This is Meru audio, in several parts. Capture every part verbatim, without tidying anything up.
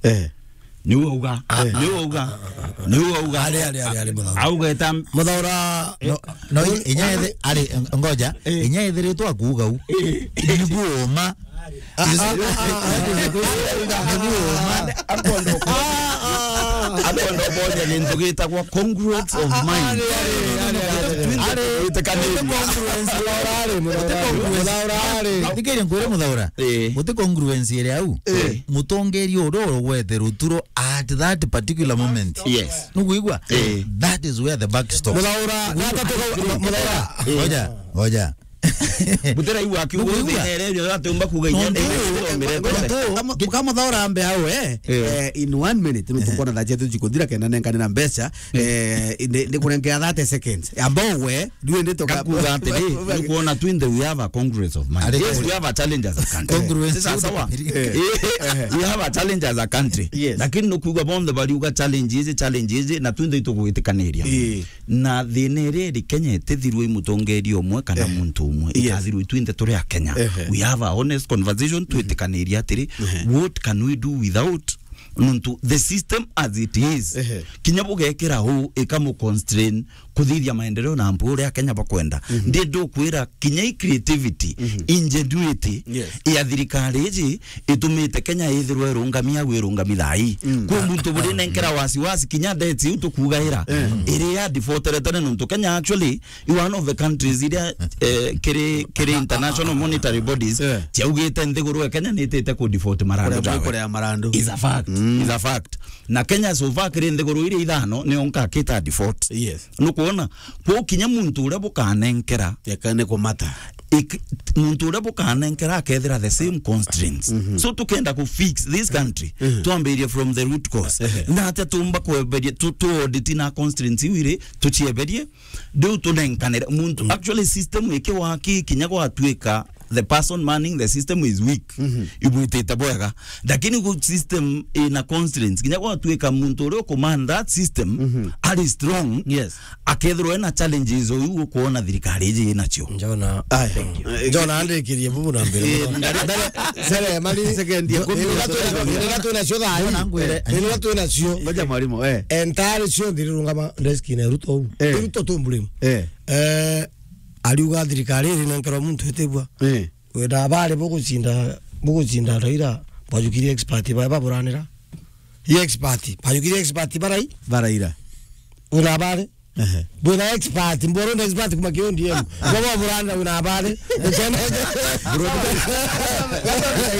Eh. Niu auga. Ah, niu auga. Niu auga. Ari, ari, ari, ari, Muthaura. Auga eta Muthaura, no, no, inya ethi-, ari, ngoja, eh, inya ethiritwe akuuga u. Eh. Ni buuma. Ah, ah, ah, ah, ah. Ni buuma. Akwenda ukonya gintu gitagwa congruence of mind. Ari, ari, ari, ari, ari. Ari, Muthaura ari, Muthaura ari, Muthaura ari. Thikiria nkwire Muthaura. Eh. Guti congruence iri au. Eh. Mutongeria uria urugwete ruturo at that particular moment. Yes. Nukwigua? Eh. That is where the buck stops. Muthaura, Muthaura. Ngoja, ngoja. Mutera iu akiuga. Nukwigua? Thina iri ndio atiumba kuuga inya. Nontu, nontu, kama Muthaura ambe au, eh, eh, in one minute, nutukona thaa cietu cikuthira kenda nenkanira mbeca, eh, ndi, ndikurenkea thirty seconds. Ambao we, Riu ndi tuka- Ngakuuga atiri, nukwona twinthe we have a congruence of mind. Ari- Yes, we have a challenge as a country. Congruence. Sasa sawa. Eh. We have a challenge as a country. Yes. Lakini nukwigua bonthe bariuga challenge ici, challenge ici, na twinthe itugwitikaniria. Eh. Na thina iri iri Kenya itithirwe i mutongeria umwe kana muntu umwe. Yes. Ikathirwe twinthe turi a Kenya. Ehe. We have a honest conversation, twitikaniria atiri, what can we do without Nontu the system as it is, ehe, kinya bugekira uu ikamu constrain kuthithia maendeleo na mpu uria Kenya bakwenda. Mhm. Ndi ndukwira kinya i creativity, mhm, ingenuity, yes, ya thirikari iji itumite Kenya ithirwe irungami au irungami thaa ii. Mm. Kwi muntu buri nenkera wasiwasi kinya debts iu tukugaira, eh, iri ya default tene nontu Kenya actually i one of the countries iria, eh, kiri, kiri International Monetary Bodies, yeah, ciaugite nthiguru ya Kenya nitite ku default marandu jawe. Kuria marandu. Is a fact. Mm. Is a fact. Na Kenya so far kiri nthiguru iria ithano nio nkakita default. Yes. Nukwona? Kwo kinya muntu uria bukanenkera. Yeka ni kumata. Ik-, muntu uria bukanenkera akethira the same constraints. Mhm. So tukenda ku fix this country, mhm, twambirie from the root cause. Ehe. Na atia tumba kweberia, tu, tu audit na constraints iu iri, tucieberie, riu tunenkanire muntu. Mm. Actually, system ikiwaki kinya gwatuika the person manning the system is weak. Mhm. Ibwitite bwega. Lakini ku system ina constraints, kinya gwatuika muntu uria uku man that system, mhm, ari strong, yes, akethirwa ena challenges uyu ukuona thirikari iji inacio. Njona. Aya. Thank you. Njona andikirie bubu na mbere. Eh, muno. Mbere, mbere, mari second ya kumi na tatu. Ira twinacio thaa ii. Njona ngwire. Ira twinacio. Ngoja mwalimu, eh. Entire cionthe irungama desk-ini ya Ruto uu. Eh. Ruto tu mbulimu. Eh. Eh, ariuga thirikari iri nenkerwa muntu itibua. Eh. Wina abari bugucinda, bugucinda Raila, bajukirie expert ba, baburanira. Ye expert, bajukirie expert barai? Baraira. Wina abari? Ehe. Bwina expert, mboro na expert kuma ki O D M. Baba buranira wina abari? Ira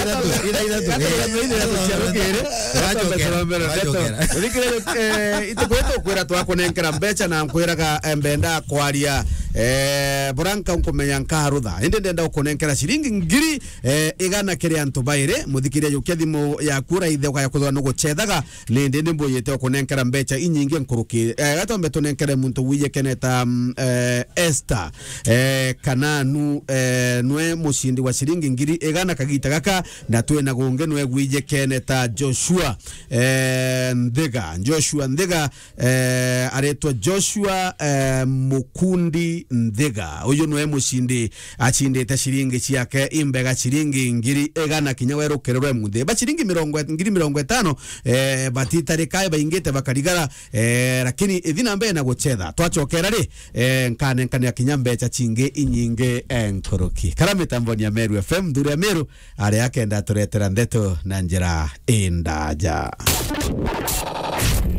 ithatu, ira ithatu, ira ithatu cia rukiri. Wachokera, wachokera. Uthikire, eh, itukwira tukwira twakunenkera mbeca na nkwiraga, eh, mbenda kwaria, eh, buranka nkumenya nkarutha. Indi ndenda gukunenkera ciringi ngiri, eh, igana kiri antu bairi. Muthikiria, jukia thimu yaku uraithe ukaya kwithirwa nugucethaga, ni ndi ndi mbuyite gukunenkera mbeca inyingi nkuruki. Eh, gatombe tunenkere muntu wiyekene ta, mm, eh, Esther, eh, kana nu, eh, nwe mucindi wa ciringi ngiri igana kagita gaka, na twina gungi nwe gwijekene ta Joshua, eh, Nthiga. Joshua Nthiga, eh, aretwa Joshua, eh, Mukundi Nthiga. Uyu nwe mucindi acindite ciringi ciake imbega ciringi ngiri igana kinya werukirirwe muthi. Ba ciringi mirongo, ngiri mirongo itano, eh, batitarika baingite bakarigara, eh, lakini ithi na mbere na gucetha. Twacokera ri, eh, nkanenkanira kinya mbeca cingi inyingi, eh, nkuruki. Kara mitamboni ya Meru F M, nthuri ya Meru, aria akenda turetera ndeto na njira indaja.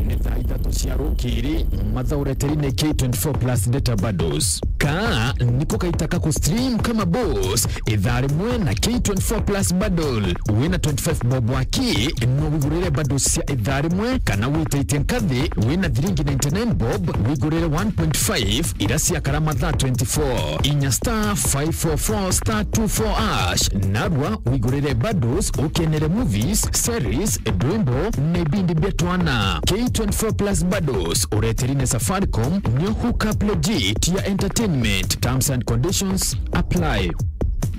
Ni thaa ithatu cia rukiri, matha ureteri ni K twenty-four plus data bundles. Ka niko kaita ka ku stream kama boss, ithaa rimwe na K twenty-four plus bundle. Wina twenty-five bob waki, no wigurire bundles cia ithaa rimwe, kana witaitie nkathi, wina thiringi ninety-nine bob, wigurire one point five, ira ciakara mathaa twenty-four. Inya star five four four star two four hash. Narua wigurire bundles, ukenere movies, series, ndwimbo, na ibindi bia twana. K twenty-four plus bundles, ureteri ni Safaricom, nio hook up legit ya entertainment. Terms and conditions apply.